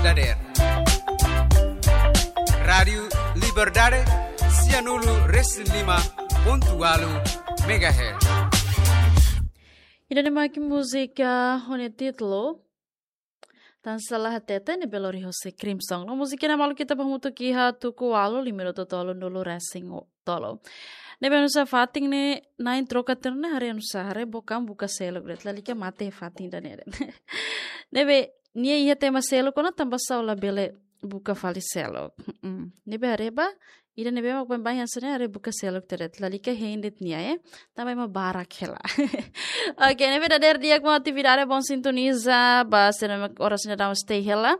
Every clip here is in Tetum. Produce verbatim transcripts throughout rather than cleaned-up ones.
Dader. Rádiu Liberdade, sianulu resin lima pontu ualu megahertz. Ida-ne'e mak múzika ho nia títulu Tansá La Hatete, ne'ebé lori hosi Crimson. No múzika ne'e maluk ita bá hamutuk iha tuku ualu, lima minutu tolunulu resin tolu. Ne'ebé oinsá fatin ne'e, na'in troka tiha ona, haree oinsá, haree book an buka seluk de'it, lalika mate fatin ida-ne'e de'it. Ne'ebé nia iha tema seluk ona, tanbasá labele buka fali seluk. Mm. Ne'ebé haree ba, ida ne'ebé mak baibain hanesan ne'e haree buka seluk tiha de'it, lalika hein de'it nia, eh. Tanba ema barak hela. Oke, ne'ebé dader di'ak maun atividade, bom sintoniza, ba sira mak oras ne'e daudaun stay hela.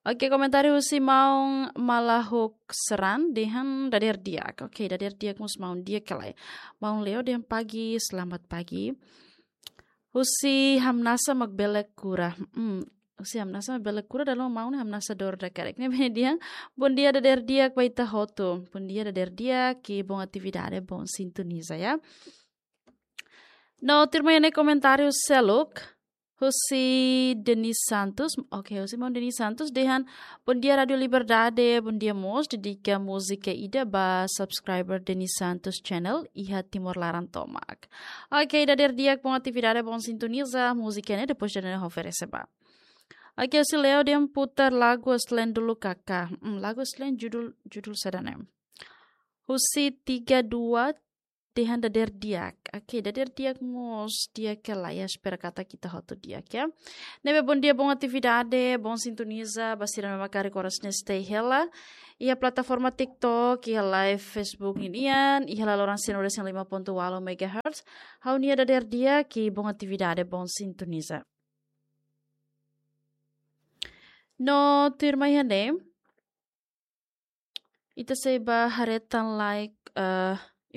Oke, komentáriu husi maun Malahuk Seran dehan dader di'ak. Oke, dader di'ak mós maun, di'ak ka lae? Maun Leo dehan pagi, selamat pagi. Husi Hamnasa mak bele kura. Hmm, husi Hamnasa mak bele kura, dala ruma maun Hamnasa dorda karik. Ne'ebé nia dehan, bom dia dader di'ak ba ita hotu. Bom dia dader di'ak, i bom atividade, bom sintoniza, ya. No tuirmai ne'e komentáriu seluk husi Denis Santos. Oke, husi maun Denis Santos dehan, bom dia Rádiu Liberdade, bom dia mós, dedika múzika ida ba subscriber Denis Santos Channel iha Timor Laran tomak. Oke, dader di'ak, bom atividade, bom sintoniza, múzika ne'e depois ida-ne'e oferese ba. Oke, husi Leo dehan putar lagu Aslen dulu kakak. Hmm, lagu Aslen judul, judul saida ne'e? Husi tiga dua dehan dader di'ak. Oke, dader di'ak mós, di'ak ka lae? Ya, espera katak ita hotu di'ak, ya. Ne'ebé bom dia, bom atividade, bom sintoniza ba sira ne'ebé mak karik oras ne'e stay hela iha plataforma TikTok, iha live Facebook ninian, iha laloran sianulu resin lima pontu ualu megahertz. Ha'u-nia dader di'ak, i bom atividade, bom sintoniza. No tuirmai iha ne'e, ita sei bá haree tan like, eh,